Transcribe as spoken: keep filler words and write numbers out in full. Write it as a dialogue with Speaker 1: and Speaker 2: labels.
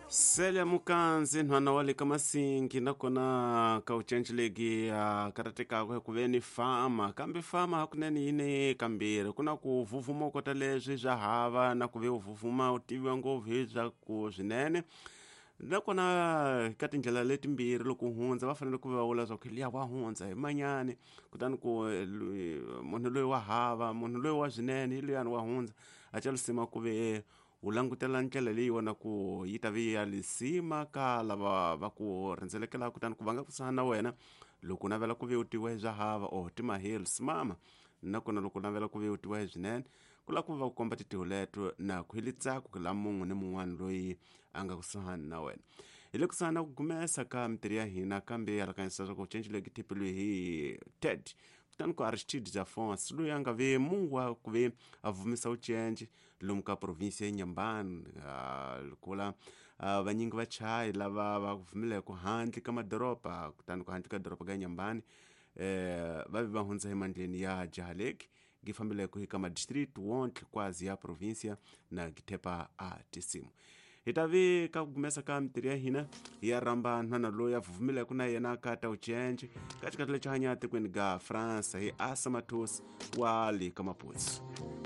Speaker 1: Celia Mukanzi nhwana wa le ka Masingi nakona ka ucenceleki a karatekaka hi ku ve ni fama kambe fama hakunene yi ne kambirhi ku na ku vuvuma u kota leswi swa hava na ku ve u vuvuma u tiviwa ngopfu hi swa ku swinene nakona ka tindlela letimbirhi loko u hundza va fanele ku va vula swa ku liya wa hundza hi manyani kutani ku munhu loyi wa hava munhu loyi wa swinene hi luyani wa hundza a ca lisima ku ve u langutela ndlela leyi wona ku yi ta ve ya lisima ka lava va ku rhendzelekelaka kutani ku va nga kusuhani na wena loko u navela ku ve u tiviwa hi swa hava or ti-hills mama nakona loko u navela ku ve u tiviwa hi swinene ku lava ku va ku komba tintiho leto na ku hi litsako la mun'we ni mun'wana loyi a nga kusuhani na wena hi le kusuhani na ku gumesa ka mintirho ya hina kambe alakanyisa leswaku cencile ki thepeliwe hi Ted kutani ku Aristide Afonso loyi a nga ve mungu wa ku ve a vumisa ucence lomu ka province ya Inhambane kula vanyingi va chayi lava va vumileke handle ka madoroba kutani ku handle ka doroba ka Inhambane eh va ve va hundza emandleni ya Jahaleki gi fambeleke hi ka madistrict wonke kwazi ya provincia na githepa a tisimu hi ta ve ka ku gumesa ka mintirho ya hina hi ya rhamba nhwana loyi a vumileke na yena ka ta ucence ka xikati lexi hanya tikweni ga France hi Asa Matos wa le ka Maputsu.